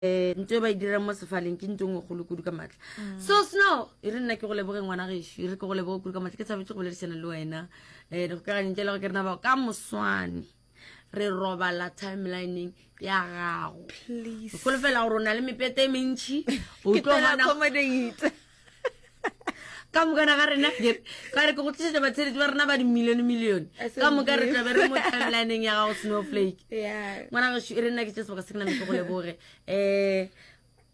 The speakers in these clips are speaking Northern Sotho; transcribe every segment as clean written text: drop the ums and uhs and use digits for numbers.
Ntho e ba e dirang mo sefaleng ke ntho e nngwe kgolo kudu ka maatla. So Snow, e re nna ke go leboge ngwana gešo, e re ke go leboge kudu ka maatla. Ke thabetše go boledišana le wena. Um dikgokaganyong tša lego ke rena bao ka moswane re robala timelineng ya gago. Please. Ke holofela gore o na le mepete e mentši. O Ke tlo tla bona accommodate. ka mokana ga rena ke re ka re ke go tlišetša batsheletši ba rena ba dimilione milione ka moka re tlabe re mo timelineng ya gago snowflake Yeah. ngwana gešo e re nna ke tše sebaka se ke name ke go leboge um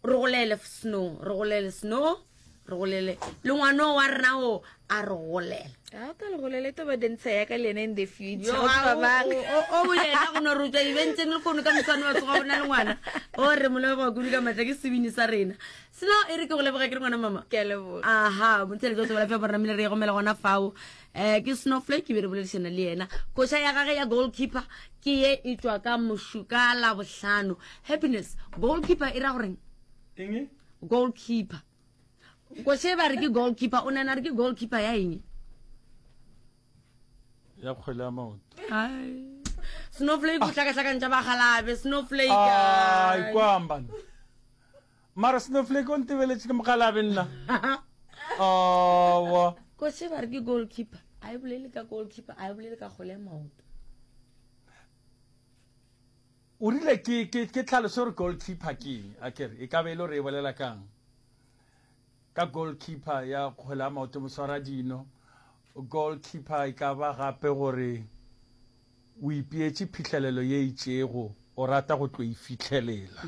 re golele snow re golele snow re golele le ngwano wa rena o a re golela A o tla le golele to ba dancer ya ka le yena in the future. Yo, O tseba mang? o o yena go no re o tswa eventeng le kgono ka moswane wa tsoga bona le ngwana o re mo leboga kudu ka maatla ke sebini sa rena Selo e re ke go leboga ke re ngwana mama. Ke a leboga. Aha, motsheletso wa Thobela FM re namile re e gomela gona fao. Eh ke Snowflake be re boledišana le yena. Koša ya gage ya goalkeeper ke ye e tšwa ka mošuka la bohlano. Happiness, goalkeeper e ra goreng? Eng? Goalkeeper. Koša e ba re ke goalkeeper, o nana re ke goalkeeper ya eng? Ya kgwele ya maoto. Ai. Snowflake o hlakahlakantša bagalabe, Snowflake. Ai, kwamba. Mara Snowflake o ntebeletše ke mokgalabe nna. Awa. Koše ba re ke goalkeeper. A e bolele ka goalkeeper, a e bolele ka kgole ya maoto. O rile ke ke ke tlhaloso gore goalkeeper ke eng? A kere e ka be e le gore e bolela kang? Ka goalkeeper ya kgwele ya maoto moswara dino. Goalkeeper e ka ba gape gore O ipeetše phihlelelo ye itšego, o rata go tlo e fihlelela.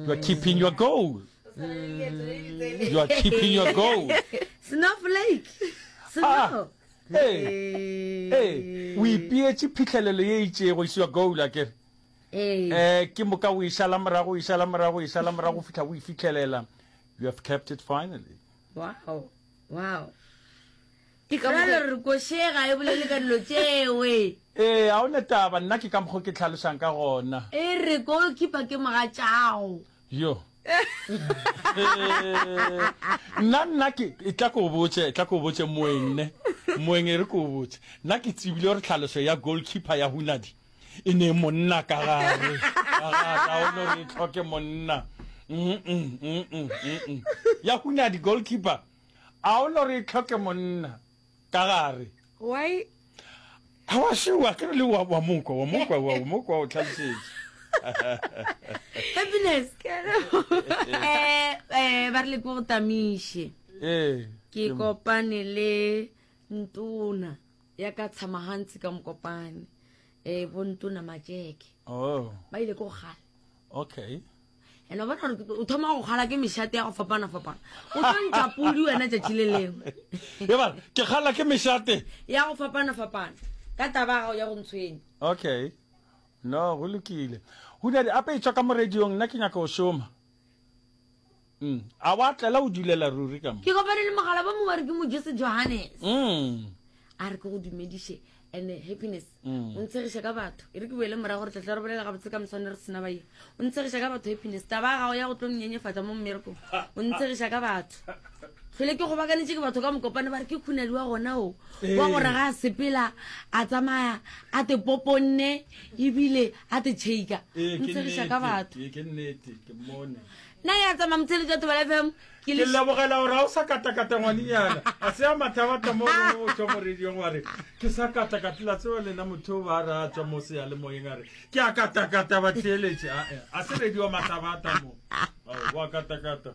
You are keeping your goal. You are keeping your goal. Snowflake. Snow. Ah, ee, ee, o ipeetše phihlelelo ye itšego, is your goal, akere? Ee. Eh, ke moka o e šala morago, o e šala morago, o e šala morago go fihla o e fihlelela. You have kept it finally. Wow. Wow. Ke ka Bjale mokgo re koše ga e bolele ka dilo tšewe. Ee, ga o ne taba, nna ke ka mokgo ke hlalošang ka gona. E re goalkeeper ke mogatšago. Yo. Nna, nna ke, e tla ke o botše, tla ke o botše moeng ne, moeng e re ke o botše. Nna ke tsebile gore tlhaloso ya goalkeeper ya Hunadi e ne monna ka gare, ka gare, ga o no re e tlhoke monna. Mm-mm, mm-mm, mm-mm. Ya Hunadi goalkeeper. A o no re e tlhoke monna ka gare? Why? A wa šua, ke re le wa, wa mokwa, wa mokwa, wa mokwa o tlhalosetše. Happiness. Eh, eh, ba re le ko go tamiše. Ee. Ke kopane le ntona ya ka tshamagantsi ka mokopane. Eh, bo ntona Matjeke. Oh. Ba ile ko go gala. Okay. And o bona gore o thoma go kgala ke mešate ya go fapana-fapana. O tlo ntšha pudi wena tšatši le lengwe. Eba, ke kgala ke mešate. Ya go fapana-fapana. Ka taba ya gago ya go ntshwenya. Okay. No, go lokile. Hunadi, ape e tšwa ka mo radiong, nna ke nyaka go šoma. Mm. A wa tlela o dulela ruri ka mo. Ke kopane le mogala ba mongwe a re ke Mojese Johannes. Mm. A re ke go dumediše and happiness. Mm. O ntshegiša ka batho. E re ke boele morago re tla tla re bolela gabotse ka moswane re sena baye. O ntshegiša ka batho happiness. Taba ya gago ya go tlo nnyenyefatša mo mmerekong. O ntshegiša ka batho. Hlole ke gobakanetše ke batho ka mokopane ba re ke khunadi wa gona o. Wa gore ga a sepela a tsamaya a te poponne ebile a te tšheika. Ee, ke Ntshegiša ka nnete. batho. Ee, ke nnete. Ke mmone. Nna ya tsamaya motheletši wa Thobela FM ke Ke le lebogela gore ga o sa katakata ngwanenyana. A se ya mathabata mo gongwe o tšwa mo radiong wa re ke sa katakata la tseba lena motho o ba re a tswa mo seyalemoyeng a re ke a katakata ba theeletše. A a se radio mathabata mo. Ao, wa katakata.